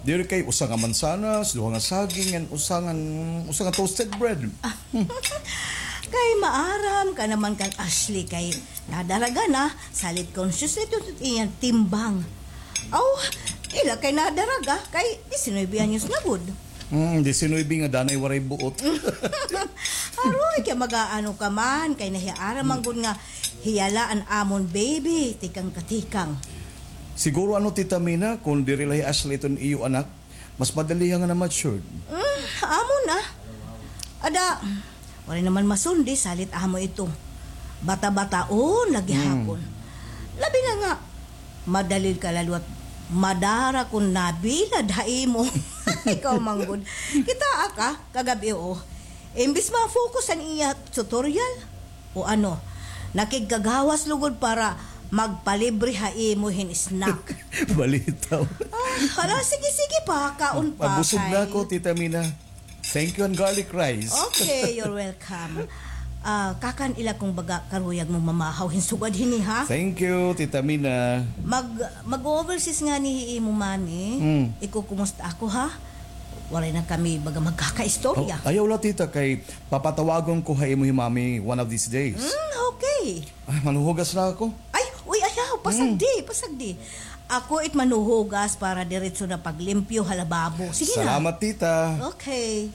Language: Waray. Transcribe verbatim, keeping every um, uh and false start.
Diri kay usa nga mansanas, duha nga saging, and usa nga, usa nga toasted bread. Kay maaram ka naman kan Ashley kay nadaraga na, salit conscious na ito iyang timbang. Aw, ila kay nadaraga kay diecinuebe anyos na gud. Hmm, diecinuebe nga danay waray buot. Aroy, kay mag-aano ka man, kay nahiaram man gud nga hiya la an amon baby, tikang katikang. Siguro ano, Tita Mina, kung diri la hi Ashley iton iyo anak, mas madali nga na-matured. Mm, amo na. Ada, waray naman masundi, salit amo ito. Bata-bataon lagi hapon. Labi na nga, madali ka la liwat madara kun nabilad ha imo. Ikaw man gud. Kitaa ka, kagab-i, o. Imbis ma-focus an iya tutorial, o ano, nakigkagawas lugod para magpalibre ha imo hin snack. Balitaw. Ah, hala, sige, sige pa, kaon pa. Mabusog na ako, Tita Mina. Thank you an garlic rice. Okay, you're welcome. Ah, kakan ila kung baga karuyag mo mamahaw hin sugad hini, ha? Thank you, Tita Mina. Mag, mag-overseas ngani hi imo mami. Hmm. Ikukumusta ako, ha? Waray na kami baga magkakaistorya. Oh, ayaw la, tita, kay papatawagon ko ha imo hi mami one of these days. Mm, okay. Ah, manhuhugas na ako. Ay, uy, ayaw, pasagdi, pasagdi. Ako it manhuhugas para diretso na paglimpyo ha lababo. Sige na. Salamat, tita. Okay.